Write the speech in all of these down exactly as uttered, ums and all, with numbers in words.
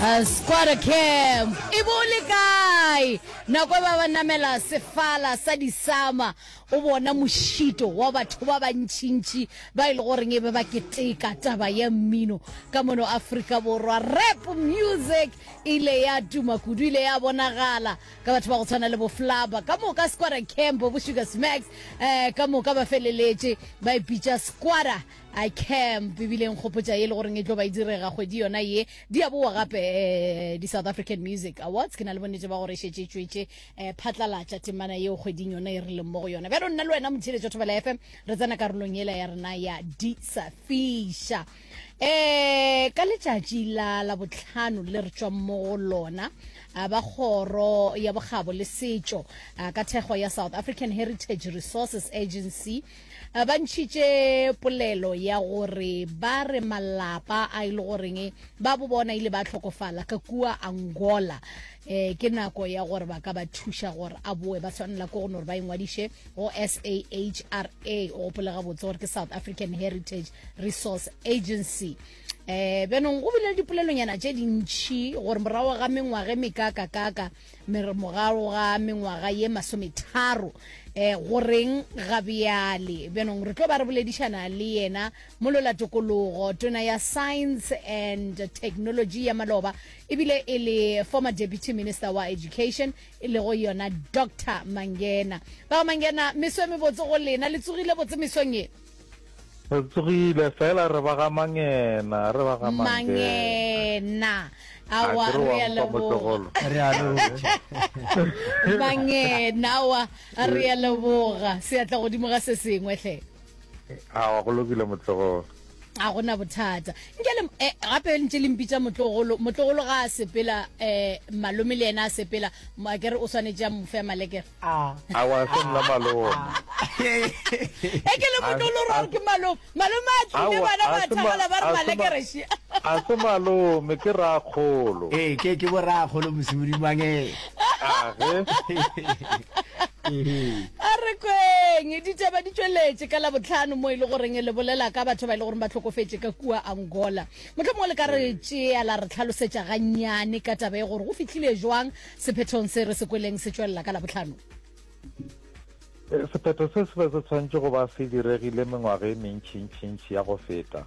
Uh, Squatter Camp e bo le kae nako e ba ba namela sefala sa disama o bona mošito wa batho ba bantšintši ba e le goreng e be ba keteka taba ya mmino ka mono Afrika Borwa. Rap music ile ya tuma kudu, ile ya bonagala ka batho ba go tshwana le bo Flabba ka moka, Squatter Camp, bo Sugar Smacks, um ka moka ba feleletše ba ipitša Squatter a Camp. Ebile nkgopotša ye le goreng e tlo ba e direga kgwedi yona ye di a boa gape, um di-South African Music Awards. Ke na le bonnete ba gore e šetše e tšwetše um phatlalatša temana yeo kgweding yona e re leng mo go yona. Bjalo nna le wena motheeletšo Thobela F M re tsena karolong yela ya rena ya di sa fiša. um ka letšatši la la botlhano le re tšwang mo go lona, a ba kgoro ya bokgabo le setšo ka thekgo ya South African Heritage Resources Agency ba ntšhitše polelo ya gore ba re malapa a e le goreng ba bo bona ile ba tlhokofala ka kua Angola, um ke nako ya gore ba ka ba thuša gore a boe. Ba tshwanela ke go no gore ba ingwadiše go S A H R A. O gopole gabotse gore ke South African Heritage Resource Agency. um bjanong go bile le dipolelonyana tše dintšhi gore morago ga mengwaga e mekakakaka, morago ga mengwaga ye masometharo, um goreng ga bjale. Bjanong re tlo ba re boledišana le yena molola tokologo, tona ya Science and Technology ya maloba, ebile e le former deputy minister wa education, e lego yona Doctor Mangena. Ba Mangena, meso e mebotse go lena. Le tsogile botse mesong ye? Re tsogile fela, re ba ga Mangena, re ba ga Mangena. Awa, re a leboga. Re a leboga. Mangena, awa, re a leboga. Seatla godimo ga se sengwe hle. Awa, go lokile, motlogolo. A gona bothata. Nke le eh, gape ntše le mpitša motlogolo. Motlogolo ga a sepela, um malome le yena a sepela, a kere o swanetše a mofe malekere? A Awa, se nna malome. E ke le motlogolo gore ke malome, malome a tlile, bana ba thagala ba re malekere še. A se malome, ke rakgolo. Ee, ke ke borakgolo mosimodimangeng. Age. A re kweng ditaba di tšweletše ka Labotlhano mo e le goreng le bolela ka batho ba e le goreng ba tlhokofetše ka kua Angola. Motlho mongwe le ka re tšea la re tlhalosetša gannyane ka taba e, gore go fihlile jwang sephethong se re se kweleng se tšwelela ka Labotlhano? Sephetho se se be se tshwanetse go ba se diregile mengwaga e mentšhintšhintšhi ya go feta.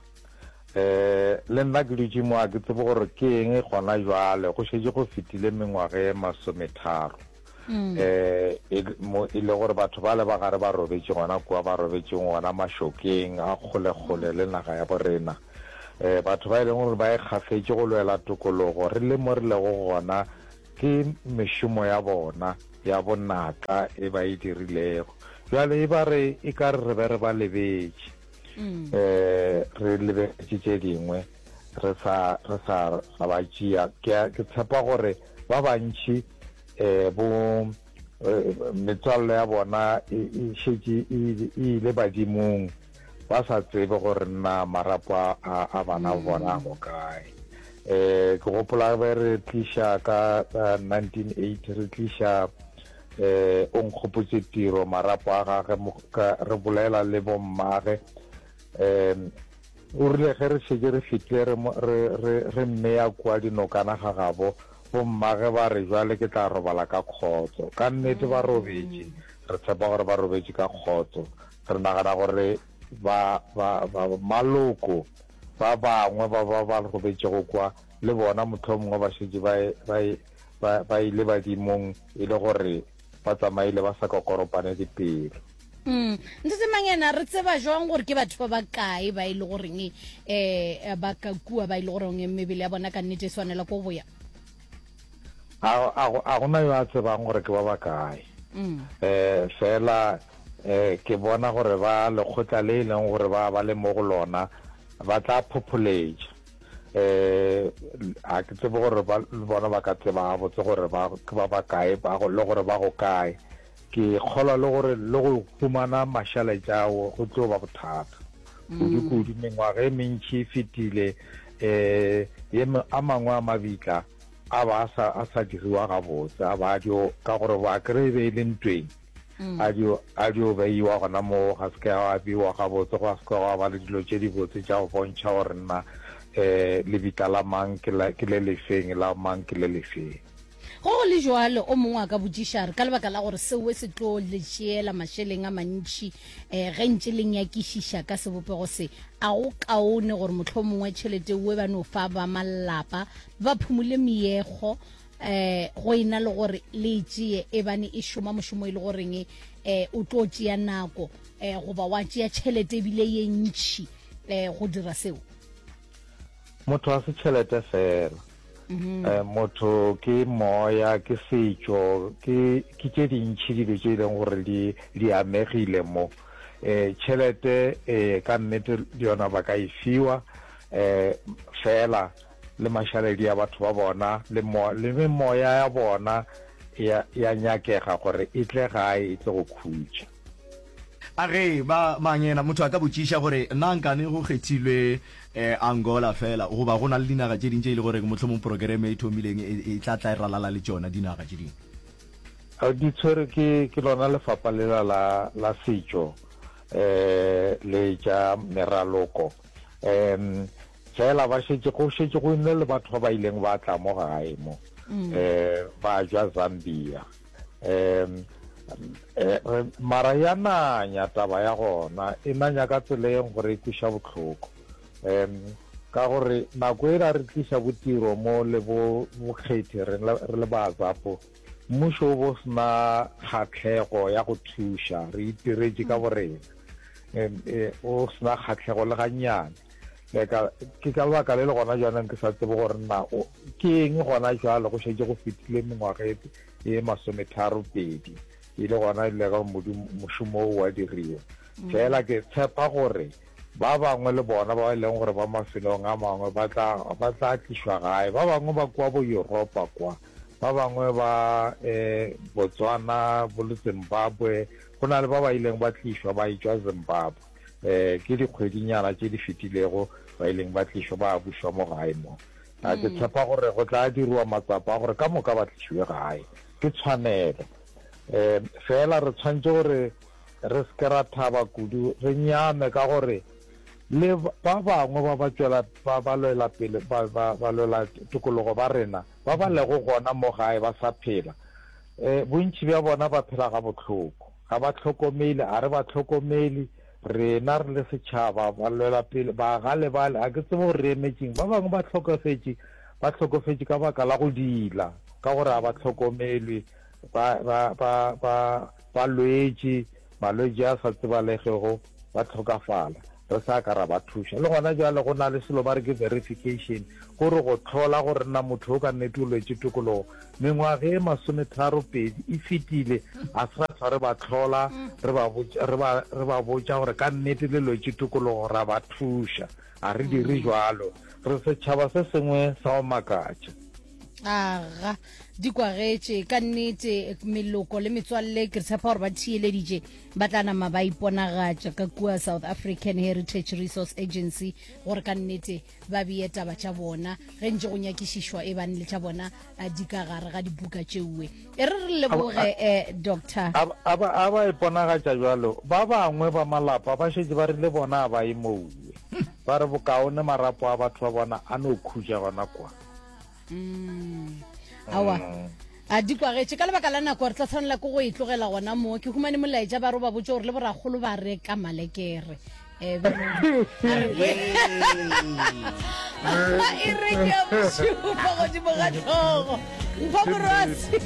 um le nna ke dutše mo, a ke tsebe gore ke eng gona jwale go šetše go fetile mengwaga e masometharo, um mo e le gore batho ba le ba gare ba robetše gona kua ba robetšeng gona mašokeng a kgole-kgole le naga ya borena, um batho ba e leng gore ba e kgafetše go lwela tokologo. Re le mo re lego gona ke mešomo ya bona ya bonatla e ba e dirilego. Jwale e ba re e ka re re be re ba lebetše, um re lebetše tše dingwe, re sa re sa ga ba tšea. Ke tshepa gore ba bantši um bo metswalle ya bona e šetše e ile badimong ba sa tsebe gore nna marapo a bana bona go kae. um ke gopola be re tliša ka nineteen eighty, re tliša um o nkgopotse tiro marapo a gage, re bolela le bommage. um o rile ge re šetše re fitlile re mmeya kua dinokana ga gabo, bommage ba re, "Jwale ke tla robala ka kgotso." Ka nnete ba robetše, re tshepa gore ba robetše ka kgotso. Re nagana gore ba ba ba maloko ba bangwe ba ba ba robetšego kwa le bona mohlomongwe ba šetše ba ba ba ba ile badimong, e le gore ba tsamaile ba sa kokoropane dipelo. Mm. Ntate Mangena, re tseba jwang gore ke batho ba bakae ba e le goreng um ba ka kua, ba e le goreng mebele ya bona ka nnete e swanela ko boya? A gona yo a tsebang gore ke ba bakae. um Fela um ke bona gore ba lekgotla le e leng gore ba ba le mo go lona ba tla phopholetša. um a ke tsebe gore ba bona ba ka tseba gabotse gore ba ke ba bakae le gore ba go kae. Ke kgolwa le gore le go humana mašaletša ao go tlo ba bothata kudu-kudu. Mengwaga e mentši e fetile, um a mangwe a mabitla a ba a sa diriwa gabotse, a ba dio ka gore ba kry e be e le ntweng, a dio a dio beiwa gona moo, ga se ke a beiwa gabotse, go se ke gwa ba le dilo tše dibotse tša go bontšha gore nna um lebitla la mang ke la, ke le lefeng, la mang ke le lefeng. Go go le jwalo, o mongwe a ka botšiša a re, Ka lebaka la gore seo se tlo le tšeela mašeleng a mantši um ge ntše le nyakišiša ka sebopego se, a go kaone gore mohlomongwe tšhelete ewe ba no fa ba malapa ba phumule meekgo um go e na le gore le e tšee ebane e šoma mošomo e le goreng um o tlo tšea nako um goba wa tšea tšhelete ebile ye ntši um go dira seo? Motho ga se tšhelete feela. Um motho ke moya, ke setšo, ke ke tše dintši dilo tše e leng gore di di amegile mo. Um tšhelete ee ka nnete le yona ba ka e fiwa um fela le mašaledi a batho ba bona le mo le memoya ya bona ya ya nyakega gore e tle gae e tle go khutša. A ge ba mangena, motho a ka botšiša gore, Na nkane go kgethilwe Angola feela, goba go na le dinaga tše ding tše e le goreng mohlomong progereme e thomileng e tla tla e ralala le tšona dinaga tše dingwe? Di tshwerwe ke, ke lona lefapha lela la, la setšo um le tša meraloko. Um fela ba šetše, go šetše go nne le batho ba ba ileng ba tla mo gae mo, um ba tšwa Zambia. Um mara ya nanya taba ya gona, e nanya ka tsela e gore e kweša bohloko. Um ka gore nako e ra re tliša botiro mo le bo bokgethi re le ba Azapo, mmušo o bo sena kgahlego ya go thuša, re itiretše ka borena. Um o sena kgahlego le gannyane. Leka, ke ka lebaka le le gona jaanong ke sa tsebe gore na o ke eng gona jwale, go šetše go fetile mengwaga e e masometharo pedi e le gona le ga modimo mošomo o wa diriwa. Fela ke tshepa gore ba bangwe le bona ba e leng gore ba mafelong a mangwe ba tla ba tla tlišwa gae, ba bangwe ba kwa bo Europa kwa, ba bangwe ba eh Botswana, bo le Zimbabwe, go na le ba ba ileng ba tlišwa ba etšwa Zimbabwe. Um ke dikgwedinyana tše di fetilego ba ileng ba tlišwa ba bušwa mo gae mo. A ke tshepa gore go tla diriwa matsapa a gore ka moka ba tlišiwe gae. Ke tshwanelo. Um fela re tshwanetše gore re se ke ra thaba kudu, re nyame ka gore le ba bangwe ba ba tšwela ba ba lwela pele ba ba ba lwela tokologo ba rena ba ba lego gona mo gae ba sa phela, um bontši bja bona ba phela gabohloko. Ga ba hlokomele, a re ba hlokomele, rena re le setšhaba, ba lwela pele, ba ga lebale, ga ke tsebe gore re emetšeng. Ba bangwe ba hlokofetše, ba hlokofetše ka baka la go diila, ka gore ga ba hlokomelwe, ba, ba, ba, ba, ba lwetše malwetši a sa tsebalegego, ba hlokafala, re sa ka ra ba thuša. Le gona bjale go na le selo ba re ke verification, gore go hlola gore na motho o ka nnete o lwetše tokologo. Mengwaga e masometharo pedi e fetile, a se ra hlwa re ba hlola, re ba botša, re ba, re ba botša gore ka nnete le lwetše tokologo, ra ba thuša. A re dire jwalo. Re setšhaba se sengwe sa go makatša. Aga, di kwagetše ka nnete. Meloko le metswalle, ke tshepa gore ba theeleditše, ba tla nama ba iponagatša ka kua South African Heritage Resource Agency gore ka nnete ba beye taba tša bona ge ntše go nyakišišwa e bane le tša bona di ka gare ga dibuka tšeue. E re re leboge eh, Doctor. A ba a ba iponagatša bjalo, ba bangwe ba malapa ba šetše ba rile bona a ba ye moue. Ba re bokaone marapo a batho ba bona a no khutša gona kwa. Mm. Aowa. A di kwagetše. Ka lebaka la nako re tla tshwanela ke go e tlogela gona mo. Ke humane molaetša ba re o ba botše gore le borakgolo ba reka malekere. Eh, a re kwe. E re ke ya bošupa godimo ga hlogo. Mpho Morwasi.